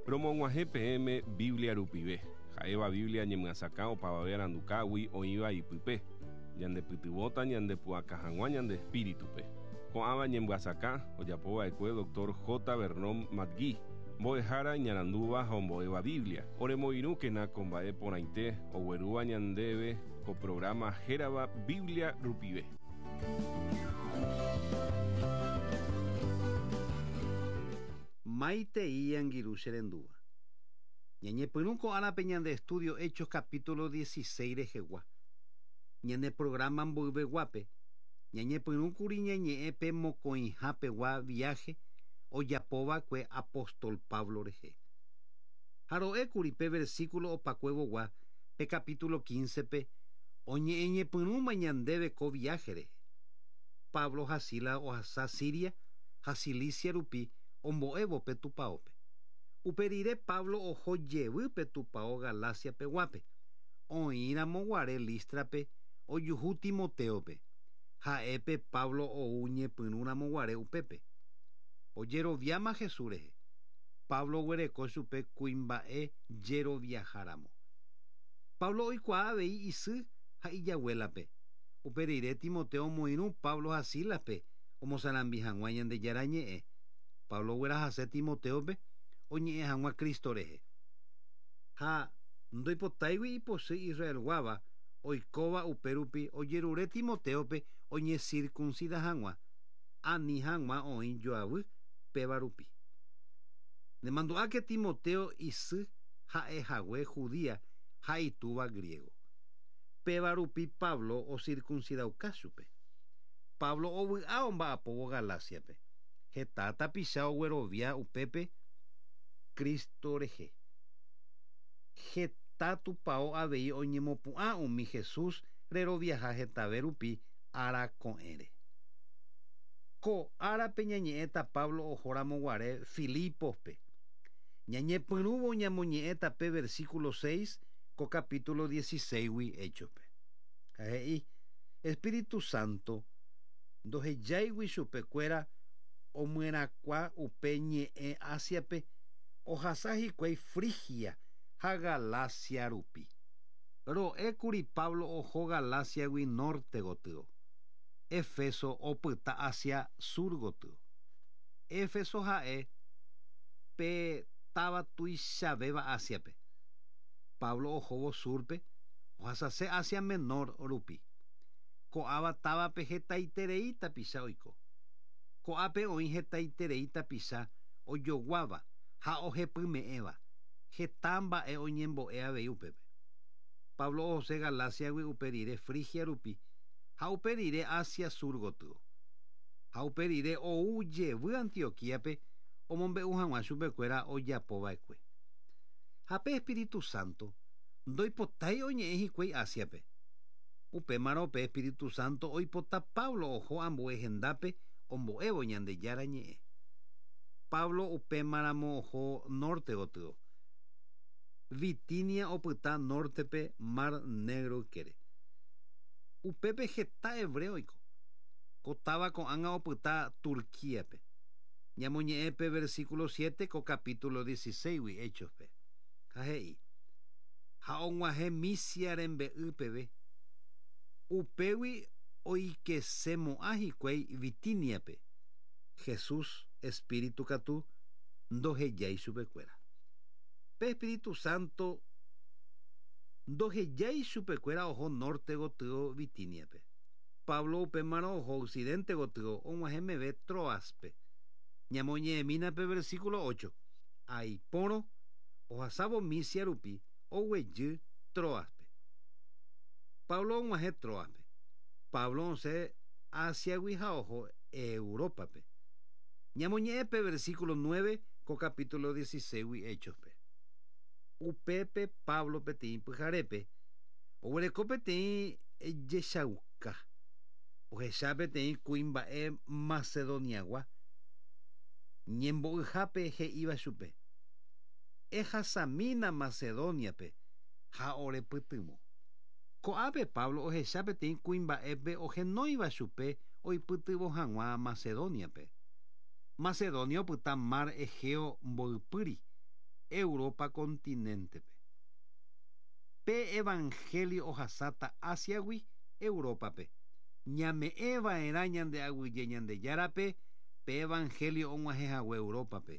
Romog̃uahẽ peẽme Biblia rupive, ha'éva Biblia ñemyasakã opavave arandukágui oĩva ipype, ñandepytyvõta ñandepu'aka hag̃ua ñande espíritupe. Ko'ãva ñemyasakã ojapova'ekue Dr. J. Vernon McGee, mbo'ehára iñarandúva ha ombo'éva Biblia. Oremoirũkena ko mba'e porãite oguerúva ñandéve ko programa hérava Biblia rupive. Maitei angirũ che rendúva. Ñañepyrũ ko árape ñande estudio Hechos capítulo 16 rehegua. Ñane programa mboyveguápe, ñañepyrũkuri ñañe'ẽ pe mokõihapegua viaje ojapova'ekue apóstol Pablo rehe. Ha ro'ékuri pe versículo opakuevogua pe capítulo 15-pe oñe'ẽñepyrũma ñandéve ko viaje rehe. Pablo ha Silas ohasa Siria ha Cilicia rupi ombo'évo pe tupaópe. Upe rire Pablo oho jevy pe tupao Galacia-peguápe, oĩramo guare Lístrape ojuhu Timotéope, ha'épe Pablo ou ñepyrũramo guare upépe. Ojeroviáma Jesús rehe. Pablo oguereko chupe kuimba'e jeroviaháramo. Pablo oikuaa avei isy ha ijaguélape. Upe rire Timoteo omoirũ Pablo ha Sílaspe omosarambi hag̃ua Ñandejára ñe'ẽ. Pablo oguerahase Timotéope oñe'ẽ hag̃ua Cristo rehe. Ha ndoipotáigui ipochy Israelguáva oikóva upérupi ojerure Timotéope oñecircuncida hag̃ua, ani hag̃ua oĩ joavy péva rupi. Nemandu'áke Timoteo isy ha'ehague judía ha itúva griego. Péva rupi Pablo ocircuncidauka chupe. Pablo ovy'a omba'apóvo Galáciape. Heta tapicha oguerovia upépe Cristo rehe. Heta tupao avei oñemopu'ã umi Jesús reroviaha hetave rupi ára ko'ẽre. Ko árape ñañe'ẽta Pablo ohóramo guare Filípospe. Ñañepyrũvo ñamoñe'ẽta pe versículo 6 ko capítulo 16-gui Héchospe. Ha he'i, Espíritu Santo ndohejáigui chupekuéra omyerakuã upe ñe'ẽ Ásiape ohasa hikuái Frigia ha Galacia rupi. Ro'ékuri Pablo oho Galáciagui norte gotyo. Éfeso opyta Asia sur gotyo. Éfeso ha'e pe táva tuichavéva Ásiape. Pablo ohóvo súrpe ohasase Asia Menor rupi. Ko'ãva távape hetaiterei tapicha oiko. Ko'ápe oĩ hetaiterei tapicha ojoguáva ha ohepyme'ẽva, heta mba'e oñembo'e avei upépe. Pablo ohose Galáciagui upe rire Frigia rupi ha upe rire Asia sur gotyo. Ha upe rire ou jevy Antioquíape omombe'u hag̃ua chupekuéra ojapova'ekue. Ha pe Espíritu Santo ndoipotái oñe'ẽ hikuái Ásiape. Upémarõ pe Espíritu Santo oipota Pablo oho ambue hendápe ombo'évo Ñandejára ñe'ẽ. Pablo upémaramo oho norte gotyo. Bitinia opyta nórtepe Mar Negro ykére. Upépe heta hebreo oiko. Ko táva ko'ág̃a opyta Turquíape. Ñamoñe'ẽ pe versículo 7 ko capítulo 16-gui Héchospe. Ha he'i, Ha og̃uahẽ Misia rembe'y peve. Upégui oikesemo'ã hikuái Bitíniape. Jesús espíritu katu ndohejái chupekuéra. Pe Espíritu Santo ndohejái chupekuéra oho norte gotyo Bitíniape. Pablo upémarõ oho occidente gotyo og̃uahẽ meve Tróaspe. Ñamoñe'ẽmína pe versículo 8. Aipórõ ohasávo Misia rupi oguejy Tróaspe. Pablo og̃uahẽ Tróaspe. Pablo osẽ Ásiagui ha oho Európape. Ñamoñe'ẽ pe versículo 9 ko capítulo 16-gui Héchospe. Upépe Pablo peteĩ pyharépe oguereko peteĩ jechauka. Ohecha peteĩ kuimba'e Macedoniagua ñembo'yhápe he'íva chupe, Ehasamína Macedóniape ha orepytyvõ. Ko'ápe Pablo ohecha peteĩ kuimba'épe ohenóiva chupe oipytyvõ hag̃ua Macedóniape. Macedonia opyta mar Egeo mboypýri. Europa continente-pe. Pe evangelio ohasáta Asia-gui Europa-pe. Ñame'ẽva'erã ñande aguyje Ñandejárape pe evangelio og̃uahẽhague Europa-pe.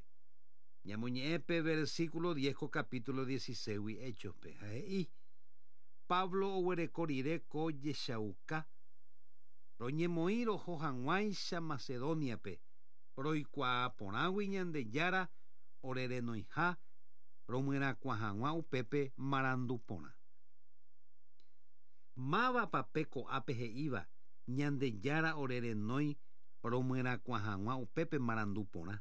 Ñamoñe'ẽ pe versículo 10 ko capítulo 16-gui Hechos-pe ha he'i, Pablo oguereko rire ko jechauka, Roñemoĩ roho hag̃uáicha Macedonia-pe, roikuaa porãgui Ñandejára orerenoiha romyerakuã hag̃ua upépe marandu porã. Mávapa pe ko'ápe he'íva, Ñandejára orerenói romyerakuã hag̃ua upépe marandu porã?